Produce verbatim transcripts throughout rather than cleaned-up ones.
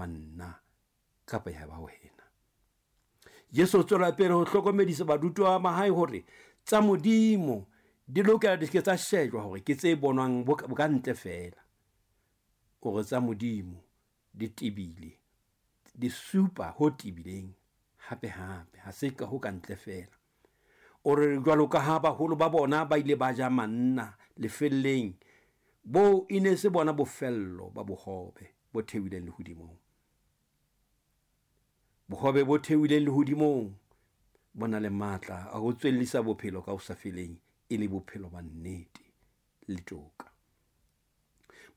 ba nna kapa ya ba wena. Jesu o tswela pele ho hlokomedisa barutwa ba hae hore tsa Modimo di lokela di se ke tsa shejwa hore ke tse bonwang bo ka ntle feela. O re tsa Modimo di tebile, di supa ho tebileng hape hape, ha se ka ho ka ntle feela. O re jwalo ka ha baholo ba bona ba ile ba ja manna lefelleng, bo e ne se bona bofello ba bohobe bo theohileng lehodimong. Bohobe bo theohileng lehodimong bo na le matla a ho tswellisa bophelo ka ho sa feleng, e le bophelo ba nnete le toka.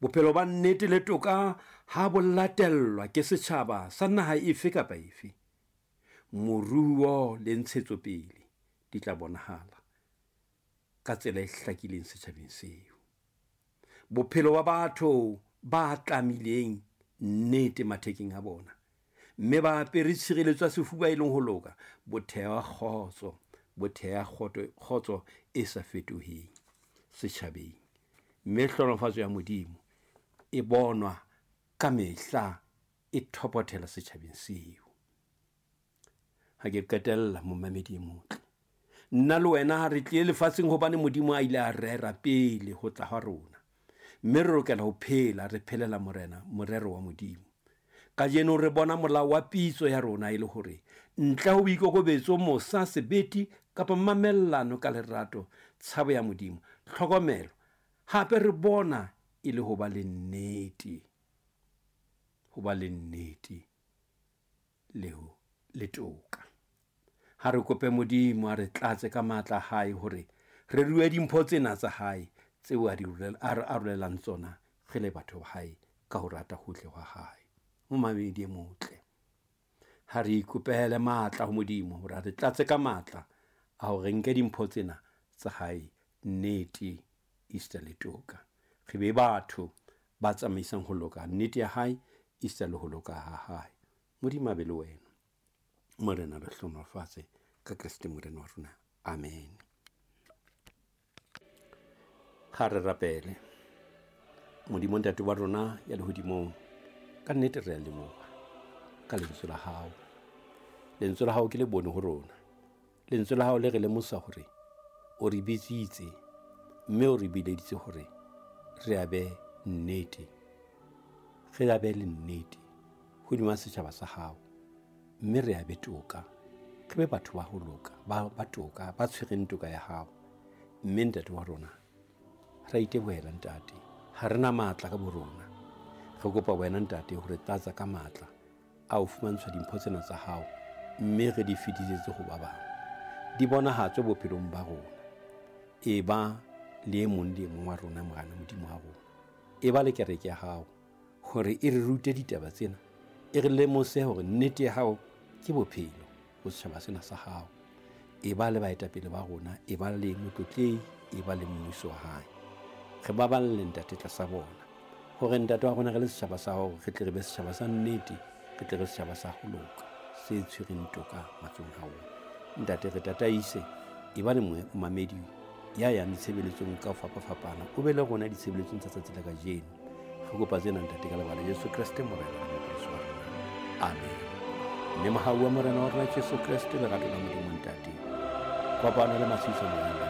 Bophelo ba nnete le toka ha bo latellwa ke setjhaba sa naha efe kapa efe, moruo le ntshetsopele di tla bonahala ka tsela e hlakileng setjhabeng seo. Bophelo ba batho ba tlamileng nnete mathekeng a bona, mme ba apere tshireletso ya sefuba e leng ho loka, bo theha kgotso, bo theha kgotso e sa fetoheng setjhabeng. Mme hlohonolofatso ya Modimo e bonwa ka mehla e thopothela setjhabeng seo. Ha ke qetella, momamedi e motle, nna le wena re tlile lefatsheng hobane Modimo a ile a rera pele ho tla ha rona, mme re lokela ho phela re phelela Morena morero wa Modimo. Kajeno re bona molao wa pitso ya rona e le hore ntle ho boikokobetso, mosa, sebete kapa mamellano ka lerato, tshabo ya Modimo, tlhokomelo, hape re bona e le ho ba le nnete, ho ba le nnete le ho le toka. Ha re kope Modimo a re tlatse ka matla a hae hore re rue dimpho tsena tsa hae tseo a di arolelang tsona re le batho ba hae ka ho rata hohle hwa hae. Momamedi e motle, ha re ikopele matla ho Modimo hore a re tlatse ka matla a hore nke dimpho tsena tsa hae, nnete, esita le toka. Re be batho ba tsamaisang ho loka nnete ya hae, esita le ho loka ha hae. Modimo a be le wena. Morena re hlohonolofatse ka Kreste Morena wa rona. Amen. Ha re rapele. Modimo Ntate wa rona ya lehodimong, ka nnete re a leboha ka lentswe la hao. Lentswe la hao ke le bone ho rona. Lentswe la hao le re lemosa hore o re bitsitse, mme o re bileditse hore re abe nnete, re abe le nnete hodima setjhaba sa hao, mme re abe toka, re be batho ba ho loka, ba ba toka, ba tshwereng toka ya hao. Mme Ntate wa rona, re itebohela Ntate, ha re na matla ka borona. Re kopa wena Ntate hore tlatsa ka matla a ho fumantshwa dimpho tsena tsa hao, mme re di fetisetse ho ba bang, di bonahatswe bophelong ba rona. E ba le e mong le e mong wa rona, Morena Modimo wa rona, e ba le kereke ya hao hore e re rute ditaba tsena, e re lemose hore nnete ya hao ke bophelo ho setjhaba sena sa hao. E ba le baetapele ba rona, e ba le motlotlehi, e ba le mmuso wa hae. Re baballe Ntate tlasa bona, hore Ntate wa rona re le setjhaba sa hao, re tle re be setjhaba sa nnete, re tle re setjhaba sa ho loka, se tshwereng toka matsohong a rona. Ntate re tataise, e ba le momamedi ya yang ditshebeletsong ka ho fapafapana, o be le rona ditshebeletsong tsa tsatsi la kajeno. Re kopa tsena Ntate ka lebaka la Jesu Kreste Morena le Mopholosi wa rona. Amen. Mme mohau wa Morena wa rona Jesu Kreste, lerato la Modimo Ntate, kopano le matshediso a Moya.